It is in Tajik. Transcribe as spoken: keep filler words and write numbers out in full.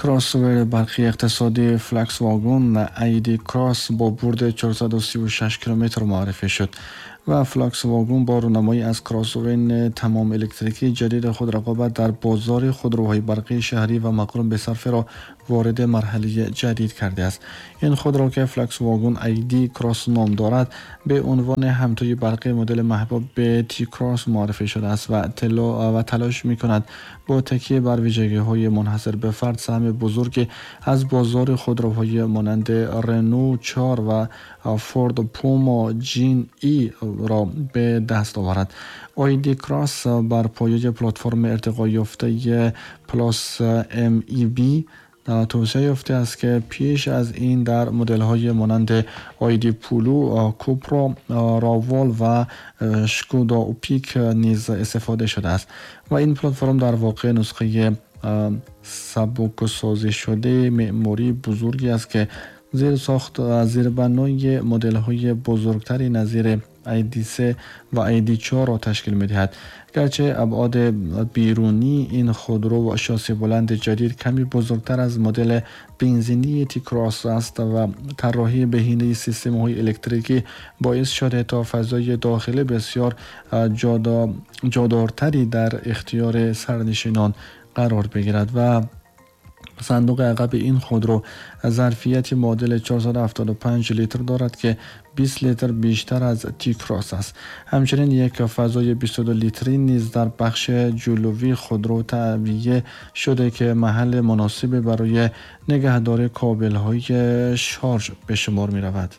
Кроссовери барқи иқтисодии Volkswagen I D Cross бо бурди чорсаду сию шаш километр муаррифӣ шуд ва Volkswagen бо рунамоӣ аз кроссовери тамом электрикии ҷадиди худ рақобат дар бозори худроҳои барқии шаҳрӣ ва мақрун бе сарферо вориди марҳалаи ҷадид кардааст. Ин худро, ки Volkswagen I D Cross ном дорад, бе унвони ҳамтои барқии модели маҳбуб T-Cross муаррифӣ шудааст ва ва талош мекунад бо такя бар вижагиҳои мунҳасир ба фард саҳми бузурге аз бозори худроҳои монанди Renault чор ва Ford Puma Gen-E ро ба даст оварад. I D Cross бар пояи платформи иртиқоёфтаи Plus M E B توسعه یافته است که پیش از این در مدل‌های مانند آیدی پولو، کوپرا راول و شکودا اوپیک نیز استفاده شده است و این پلتفرم در واقع نسخه سبک سازی شده معماری بزرگی است که زیر ساخت زیر بنای مدل های بزرگتری نظیر I D سه و I D چهار را تشکیل می‌دهد. گرچه ابعاد بیرونی این خودرو و شاسی بلند جدید کمی بزرگتر از مدل بنزینی تی کراس است و طراحی بهینه سیستم های الکتریکی باعث شده تا فضای داخلی بسیار جادارتری در اختیار سرنشینان قرار بگیرد و صندوق عقب این خودرو ظرفیت معادل چهارصد و هفتاد و پنج لیتر دارد که بیست لیتر بیشتر از تی کراس است. همچنین یک فضای بیست و دو لیتری نیز در بخش جلوی خودرو تعبیه شده که محل مناسبی برای نگهداری کابل های شارژ به شمار می رود.